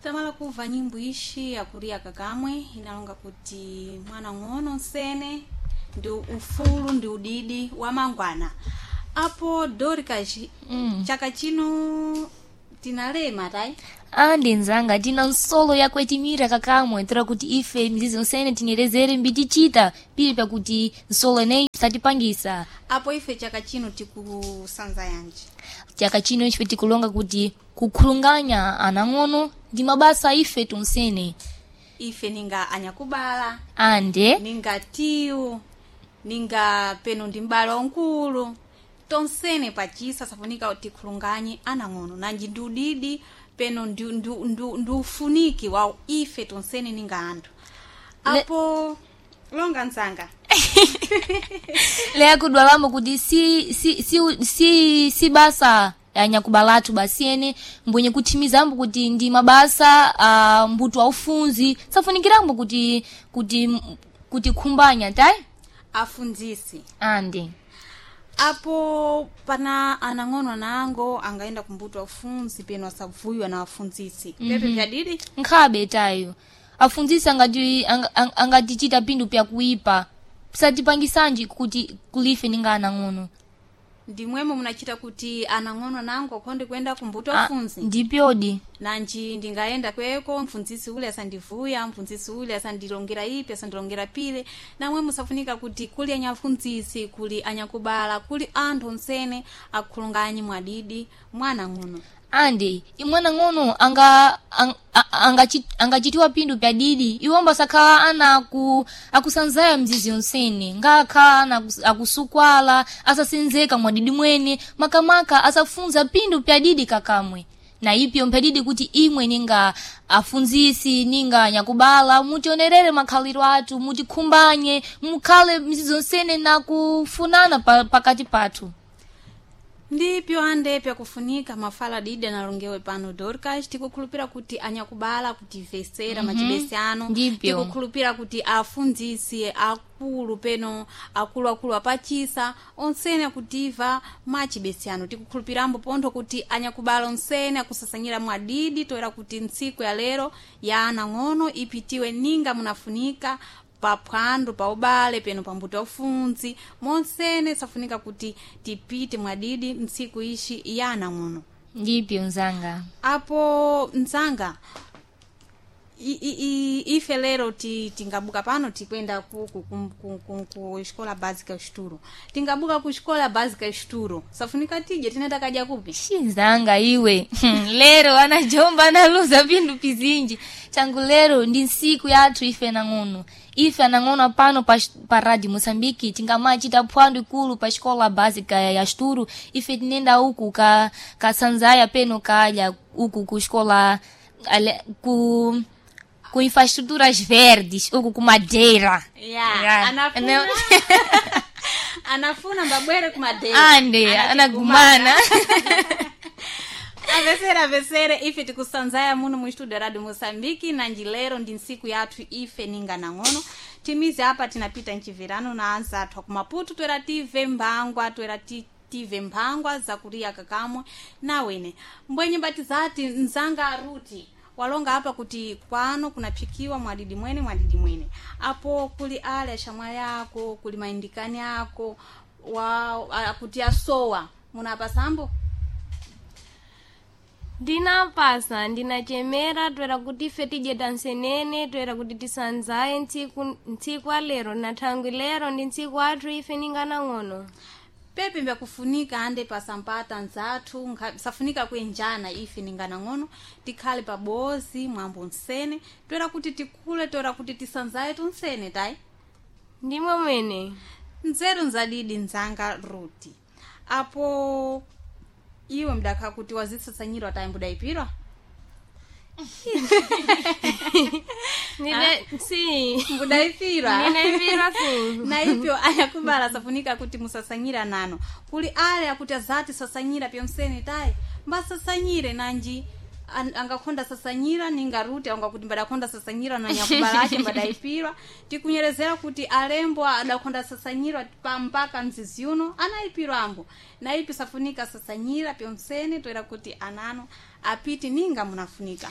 Tamala kuva nyimbo ishi yakuria kakamwe inalonga kuti mwana ng'ono nsene ndi ufulu ndi udidi wa mangwana apo Dorcas. Chaka chino tinalema tai. Andi nzanga, tina nsolo yakwetimira kakamwe toera kuti ife mizizi onsene tinyerezere mbitichita pili pakuti nsolo ineyi satipangisa. Apo ife chaka chino tikusanza yanji? Chaka chino ife tikulonga kuti kukhulunganya anang'ono ndi mabasa ife tonsene. Ife ninga anyakubala, ande ninga tiwu, ninga peno ndi m'bale wankulu, tonsene pachisa safunika tikhulunganye anang'ono nanji ndi udidi peno ndi ufuniki wa ife tonsene ninga anthu. Apo longa nzanga. Leya kudwalamo kuti si basa anyakubalatu basi ene mbwenye kuthimizambo kuti ndi mabasa a mbuto aufunzi safunikirambo kuti khumbanya tayi. Afundzisi. Ande. Apo pana anang'ono anango angaenda kumbuto afunzi peno asavuyiwa na afundzisi pepe pyadidi. Nkhabe tayo afundzisi angatichita pinthu pyakuipa satipangisanji kuti kulife ninga anang'ono. Ndimwemo munachita kuti anang'ono anango akhonde kuyenda kumbuto Ah, afunzi. Ndipyodi. Nanji ndingaenda kweko mfundzisi ule asandivuya, mfundzisi ule asandilongera ipi, asandilongera pile. Namwe musafunika kuti kuli anyafundzisi, kuli anyakubala, kuli anthu onsene akhulunganyi mwadidi mwana ng'ono. Ande imwana ng'ono angachitiwa pinthu pyadidi iwomba sakhala ana akusanzaya mzizi yonsene ngakhala ana akusukwala asasenzeka mwadidi mwene makamaka asafunza pinthu pyadidi kakamwe na ipyo mpyadidi kuti imwe ninga afunzisi ninga anyakubala mutionerere makhaliro athu, mutikhumbanye, mukhale mzizi yonsene na kufunana pakati pathu. Ndipyo ande pyakufunika mafala didi analongewe pano Dorcas. Tikukhulupira kuti anyakubala kutivesera machibesi ano. Ndipyo. Tikukhulupira kuti afundzisi akulu peno akuluakulu apachisa onsene akutiva machibesi ano. Tikukhulupirambo pontho kuti anyakubala onsene akusasanyira mwadidi toera kuti ntsiku ya lero ya anang'ono ipitiwe ninga munafunika paphwando pa ubale peno pambuto aufunzi monsene safunika kuti tipite mwadidi ntsiku ishi ya anang'ono. Ndipyo nzanga. Apo mzanga, ife lero tingabuka pano tikwenda ku escola básica Esturo. Tingabuka ku escola básica Esturo, safunika tije tinenda kadya kupi? Xinzanga iwe, lero anajomba analuza pinthu pizinji changu. Lero ndi ntsiku yathu ife nang'ono, ife anang'ono pano pa radio Moçambique tingamachita phwando ikulu pa escola básica ya Esturo. Ife tinenda uku ka sanzaya peno kadya uku ku escola ku infraestruturas verdes uku ku Madeira. Yeah, Yeah. anafuna anafuna mbabwere kumadeira. Ande anagumana. Avesere, avesere, ife tikusanzaya muno mu studio radio Moçambique nanji lero ndi ntsiku yathu ife ninga nang'ono. Timizi apa tinapita mchivirano na anza athu akumaputu twera tive mphangwa twera tive mphangwa zakuriya kakamwe nawene mbwenye mbatizati nzanga aruti walonga apa kuti kwano kunaphikiwa mwadidi mwene mwadidi mwene. Apo kuli ale ashamwali ako, kuli maindikani ako wa akuti asowa munapasambo. Ndinapasa, ndinachemera toera kuti ife tidye tansenene toera kuti tisanzaye ntsiku alero na thangwi lero ndi ntsiku athu ife ninganang'ono. Pepe mbyakufunika ande pasampata nzathu safunika kuenjana ife ninganang'ono tikhale pabozi mwambo nsene toera kuti tikule toera kuti tisanzaye tunsene tayi. Ndimwe mwene. Nzeru nzadidi nzanga Ruti. Apo iwe mdakha kuti wazisasanyirwa tayi mbudayipirwa? Nine si. Mbudayipirwa. Ndinaipirwa si. Na ipyo anyakubala safunika kuti musasanyira nano kuli ale akuti azati sasanyira pyonsene tayi mbasasanyire nanji angakhonda sasanyira ningaruti angakuti mbadakhonda sasanyira na nyakubala ache mbadayipirwa. Tikunyerezera kuti alembo adakhonda sasanyira pa mpaka mzizi uno anayipirwa ambo na ipi safunika sasanyira pyonsene toera kuti anano apiti ninga munafunika.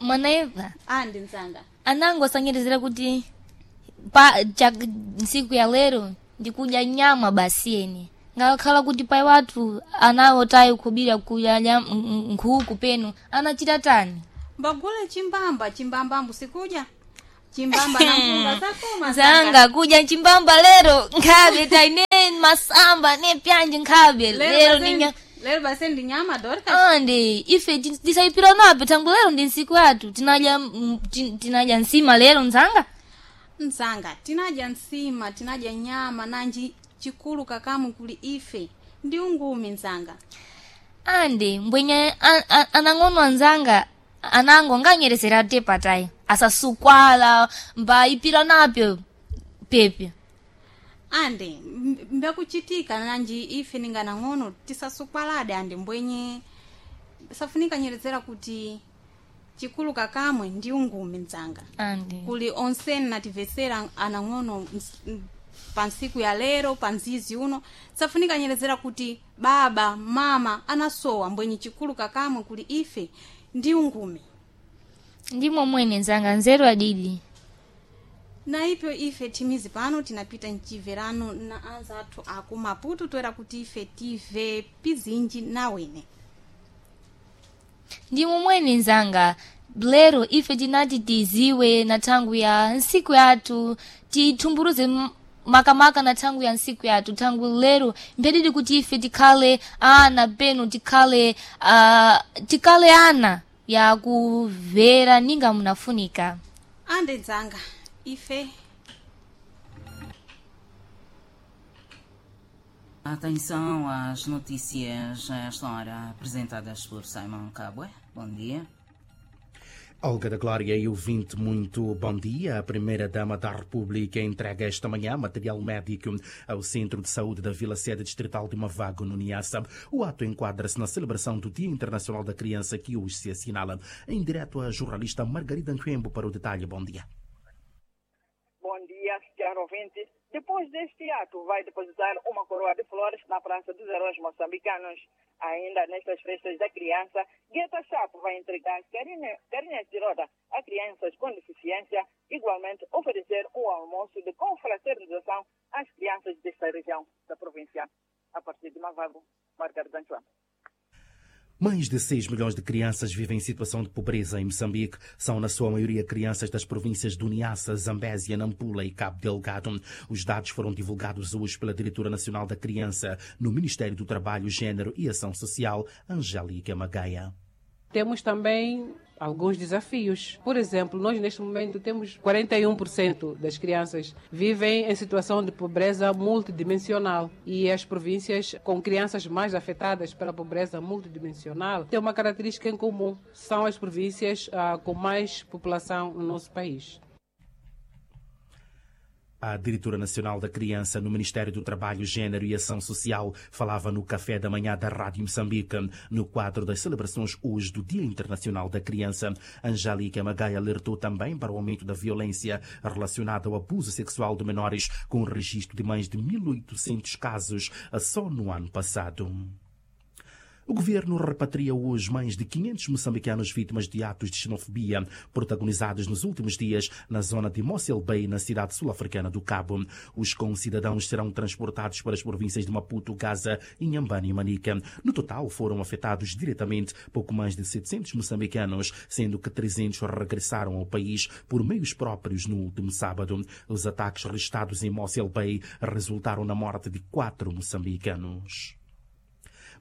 Manaiva Andi nzanga. Anango asanyerezera kuti pa cha ntsiku ya lero ndikudya nyama basi ene ngakhala kuti pai wathu anawo tayi khubira kudya nkhuku peno anachita tani. Mbagule chimbamba, chimbamba ambusikudya. Chimbamba na mpunga zakoma nzanga. Zanga kudya chimbamba lero nkhabe taine masamba ne pyanje nkhabe lero ninya. Lero basi ndi nyama Dorcas. Ande ife tisayipira napo tangu lero ndi ntsiku yathu tinadya tinadya nsima lero nzanga. Nzanga, tinadya nsima, tinadya nyama nanji chikulu kakamu kuli ife ndi ungumi nzanga. Ande mbwenye anang'ono anzanga anango nganyerezera te patayi asasukwala mbayipira napyo pepe. Ande mbyakuchitika nanji ife ninganang'ono tisasukwalade ande mbwenye safunika nyerezera kuti chikulu kakamwe ndi ungumi nzanga. Ande Kuli onseni nativesera anang'ono pa ntsiku ya lero pa mzizi uno safunika nyerezera kuti baba mama anasowa mbwenye chikulu kakamwe kuli ife ndi ungumi. Ndimo mwene nzanga nzeru adidi. Na ipyo ife timizi pano tinapita mchiverano na anzathu aku Maputo toera kuti ife tive pizinji nawene. Ndimo mwene nzanga lero ife tinati tiziwe na thangu ya ntsiku yathu tithumburuze makamaka na thangu ya ntsiku yathu thangu lero mphedidi kuti ife tikhale ana peno tikhale tikhale ana yakumvera ninga munafunika. Ande nzanga ife. Atenção às notícias a esta hora apresentadas por Simon Cabwe. Bom dia. Olga da Glória e ouvinte, muito bom dia. A Primeira-Dama da República entrega esta manhã material médico ao Centro de Saúde da Vila Sede Distrital de Mavago, no Niassa. O ato enquadra-se na celebração do Dia Internacional da Criança, que hoje se assinala. Em direto a jornalista Margarida Nquembo para o detalhe. Bom dia. Bom dia, caro ouvinte. Depois deste ato, vai depositar uma coroa de flores na Praça dos Heróis Moçambicanos. Ainda nestas festas da criança, Gueta Chapo vai entregar carinhas de roda a crianças com deficiência, igualmente oferecer um almoço de confraternização às crianças desta região da província. A partir de Mavago, Margarida Antoine. Mais de 6 milhões de crianças vivem em situação de pobreza em Moçambique. São, na sua maioria, crianças das províncias do Niassa, Zambésia, Nampula e Cabo Delgado. Os dados foram divulgados hoje pela Diretora Nacional da Criança no Ministério do Trabalho, Gênero e Ação Social, Angélica Magaia. Temos também alguns desafios. Por exemplo, nós neste momento temos 41% das crianças vivem em situação de pobreza multidimensional e as províncias com crianças mais afetadas pela pobreza multidimensional têm uma característica em comum, são as províncias com mais população no nosso país. A Diretora Nacional da Criança no Ministério do Trabalho, Gênero e Ação Social falava no café da manhã da Rádio Moçambique, no quadro das celebrações hoje do Dia Internacional da Criança. Angélica Magaia alertou também para o aumento da violência relacionada ao abuso sexual de menores, com o registro de mais de 1.800 casos só no ano passado. O governo repatria hoje mais de 500 moçambicanos vítimas de atos de xenofobia protagonizados nos últimos dias na zona de Mossel Bay, na cidade sul-africana do Cabo. Os concidadãos serão transportados para as províncias de Maputo, Gaza, Inhambane e Manica. No total, foram afetados diretamente pouco mais de 700 moçambicanos, sendo que 300 regressaram ao país por meios próprios no último sábado. Os ataques registrados em Mossel Bay resultaram na morte de 4 moçambicanos.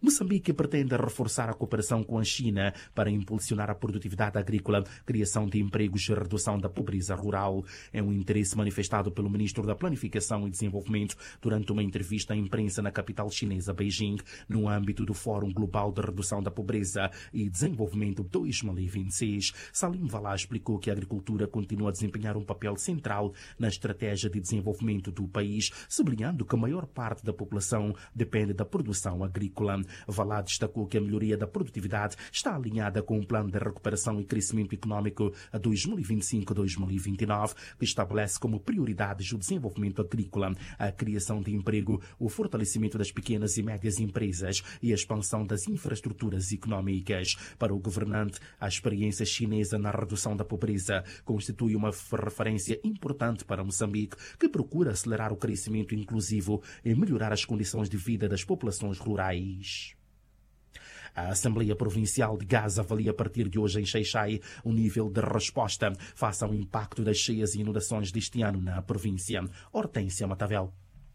Moçambique pretende reforçar a cooperação com a China para impulsionar a produtividade agrícola, criação de empregos e redução da pobreza rural. É um interesse manifestado pelo ministro da Planificação e Desenvolvimento durante uma entrevista à imprensa na capital chinesa, Beijing, no âmbito do Fórum Global de Redução da Pobreza e Desenvolvimento 2026. Salim Valá explicou que a agricultura continua a desempenhar um papel central na estratégia de desenvolvimento do país, sublinhando que a maior parte da população depende da produção agrícola. Valá destacou que a melhoria da produtividade está alinhada com o Plano de Recuperação e Crescimento Econômico 2025-2029, que estabelece como prioridades o desenvolvimento agrícola, a criação de emprego, o fortalecimento das pequenas e médias empresas e a expansão das infraestruturas econômicas. Para o governante, a experiência chinesa na redução da pobreza constitui uma referência importante para Moçambique, que procura acelerar o crescimento inclusivo e melhorar as condições de vida das populações rurais. A Assembleia Provincial de Gaza avalia a partir de hoje em Xai-Xai o nível de resposta face ao impacto das cheias e inundações deste ano na província. Hortência Matavel.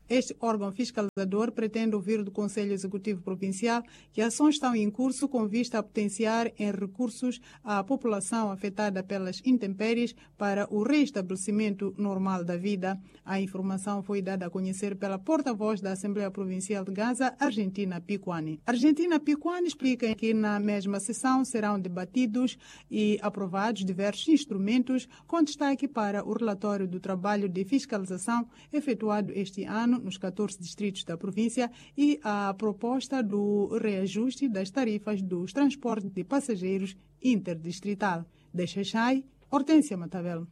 Este órgão fiscalizador pretende ouvir do Conselho Executivo Provincial que ações estão em curso com vista a potenciar em recursos a população afetada pelas intempéries para o reestabelecimento normal da vida. A informação foi dada a conhecer pela porta-voz da Assembleia Provincial de Gaza, Argentina Picuani. Argentina Picuani explica que na mesma sessão serão debatidos e aprovados diversos instrumentos, com destaque para o relatório do trabalho de fiscalização efetuado este ano nos 14 distritos da província e a proposta do reajuste das tarifas dos transportes de passageiros interdistrital. De Xaixai, Hortência Matavel.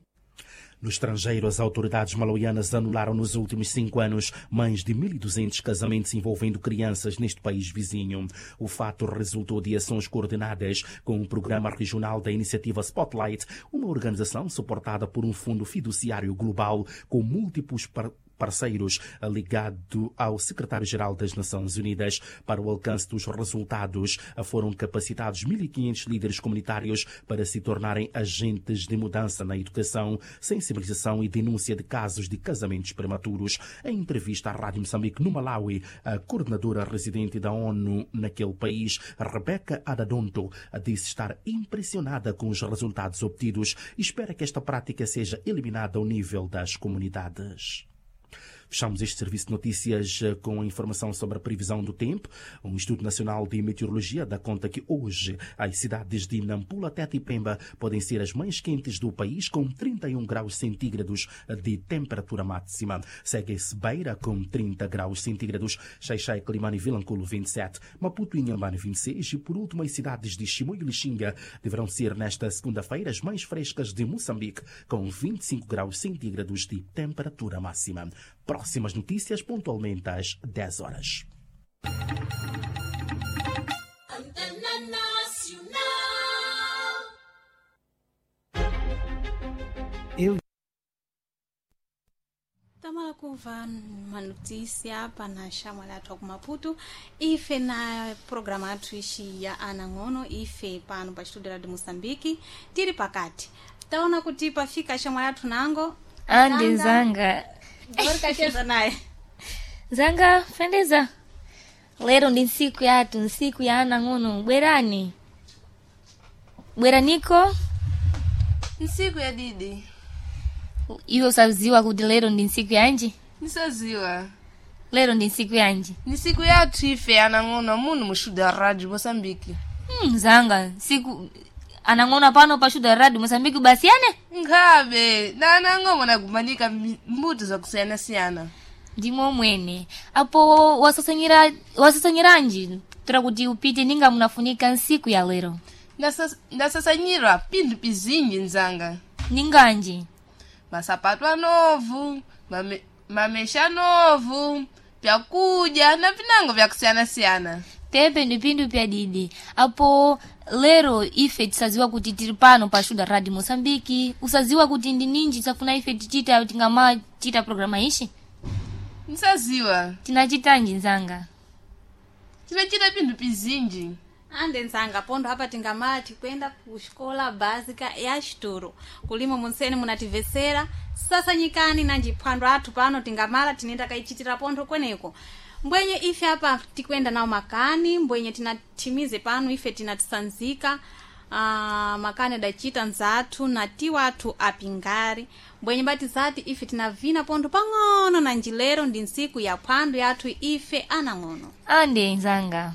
No estrangeiro, as autoridades malauianas anularam nos últimos 5 anos mais de 1.200 casamentos envolvendo crianças neste país vizinho. O fato resultou de ações coordenadas com o Programa Regional da Iniciativa Spotlight, uma organização suportada por um fundo fiduciário global com múltiplos parceiros ligado ao secretário-geral das Nações Unidas. Para o alcance dos resultados, foram capacitados 1.500 líderes comunitários para se tornarem agentes de mudança na educação, sensibilização e denúncia de casos de casamentos prematuros. Em entrevista à Rádio Moçambique no Malawi, a coordenadora residente da ONU naquele país, Rebecca Adadonto, disse estar impressionada com os resultados obtidos e espera que esta prática seja eliminada ao nível das comunidades. Fechamos este serviço de notícias com a informação sobre a previsão do tempo. O Instituto Nacional de Meteorologia dá conta que hoje as cidades de Nampula, Tete e Pemba podem ser as mais quentes do país, com 31 graus centígrados de temperatura máxima. Segue-se Beira com 30 graus centígrados, Xai-Xai, Quelimane e Vilanculo 27, Maputo e Inhambane 26 e, por último, as cidades de Chimoio e Lixinga deverão ser nesta segunda-feira as mais frescas de Moçambique, com 25 graus centígrados de temperatura máxima. Próximas notícias pontualmente às 10 horas. Eu tamala kuva manotícia pana xamwali athu aku Maputo ife na programa athu ixi ya anang'ono ife pano pa estúdio lá de Moçambique tiri pakati taona kuti pafika xamwali athu nango Ande zanga kacheza naye zanga fendeza lero ndi ntsiku yathu ntsiku ya anang'ono bwerani bweraniko Ntsiku ya didi iwe usaziwa kuti lero ndi ntsiku yanji nisaziwa lero ndi ntsiku yanji ni siku yathu ife anang'ono muno muxuda ya rádio moçambique zanga ntsiku anang'ono pano pa xuda radio moçambique basi ane nkhabe na anang'ono nakumanika mbuto zakusiyana-siyana ndimo mwene apo wasasanyiranji tora kuti upite ninga munafunika ntsiku ya lero Ndasasanyirwa pinthu pizinji nzanga ninganji masapato anovu mamesha anovu pyakudya na pinango vyakusiyana-siyana pepe ndi pinthu pya didi apo lero ife tisaziwa kuti tili pano pa xuda radio moçambique usaziwa kuti ndi ninji tisafuna ife tichita tingamachita programa ixi nisaziwa tinachitanji nzanga tinachita pinthu pizinji ande nzanga pondo apa tingamati kwenda ku xikola básica ya xituro kulimo munsene munativesera sasanyikani nanji phwando athu pano tingamala tinenda kayichitira pontho kweneko mbwenye ife apa tikwenda nawo makani mbwenye tinathimize pano ife tinatisanzika makani adacita nzathu na tiwo athu apingari mbwenye bati zati ife tinavina pontho pang'ono na njilero ndi ntsiku ya phwando yathu ife anang'ono ande nzanga